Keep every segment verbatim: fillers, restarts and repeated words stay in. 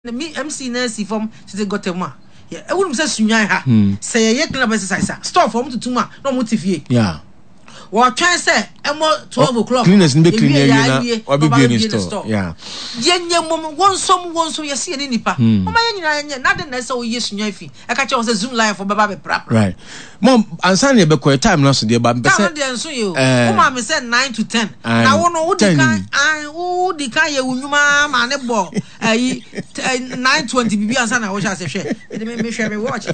Me M C na asi fam tete gɔtɛ mu a ɛwurum sɛ Sunyani ha sɛ yɛyɛ clean up exercise a, store fɔ ɔmo tutu mu a na ɔmo te fie. Yeah. Wɔtwɛn sɛ ɛmɔ twelve o'clock. Cleaners no bɛ clean awie na wabɛbue ne store. Yeah. Yɛnyɛ mom wɔnsom wɔnsom yɛsi yɛ ne nipa wɔn ayɛ nyinaa yɛnyɛ n'ade na ɛsɛ wɔyɛ Sunyani fi ɛka kyerɛ wɔn sɛ Zoomlion fo bɛba bɛprapra. Right. Mom, ansa na yɛbɛkɔ yɛ time no so deɛ ba mpɛ Time sɛ no deɛ nso yɛ o. Eh. Wo maa mi sɛ nine to ten. Aye. Na wo no wo di Ten. kan an wo di kan yɛ wo nnwuma maa ne bɔ ɛyi nine twenty bibi ansa na wohyɛ ase. Hwɛ, ɛdi mi mi hwɛ mi watch.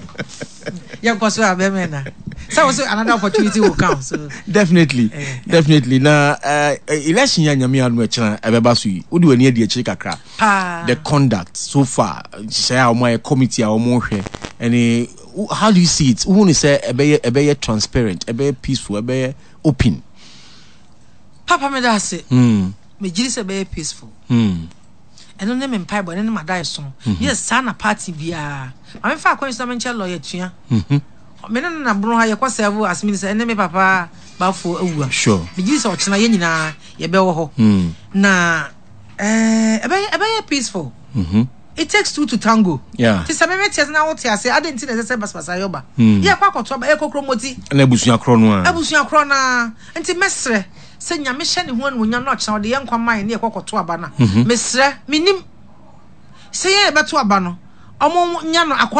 Yɛn kɔ so a bɛmɛ na sɛ wo so another opportunity will come so. Definitely. Eh. Definitely. Na uh, election yɛ Nyame adom ɛkyena ɛbɛba so yi, wode w'ani adi akyiri kakra. Paa. The conduct so far, nhyehyɛeɛ a wɔn ayɛ, committee a wɔn hwɛ ɛne how do you see it? Wohu ne sɛ ɛbɛyɛ ɛbɛyɛ transparent, ɛbɛyɛ peaceful, ɛbɛyɛ open? Papa, mi da ase. mm. Me gyiri sɛ ɛbɛyɛ peaceful. Mm. Ɛno ne me mpaebɔ, ɛno ne ma da ɛso yɛ saa na party biara maame fa akɔnyi so na me nkyɛn lawyer tua. Mm-hmm. Me ne no na bono ha yɛkɔ serve as minister, ɛne me papa bafo awua. Sure. Me gyiri sɛ ɔkyena yɛn nyinaa yɛbɛwɔ hɔ Mm. na ɛɛ ɛbɛyɛ ɛbɛyɛ peaceful. Mm-hmm. It takes two to tango. Yeah. Ti sɛ mɛmɛ te ase na wote ase ade nti na ɛsɛ sɛ basabasa yɛ ɔba. Mm. Yɛ kɔ akɔto aba, yɛ kɔ kuromoti. Ɛna abusua korɔ no a. Abusua korɔ naa, nti mɛsrɛ sɛ Nyame hyɛ ne ho animuonyam na ɔkyena ɔde yɛn nkwa ma yɛn ne yɛkɔ kɔto aba no a, Mhm. mesrɛ, menim sɛ yɛn yɛbɛto aba no, ɔmo nya no akɔ.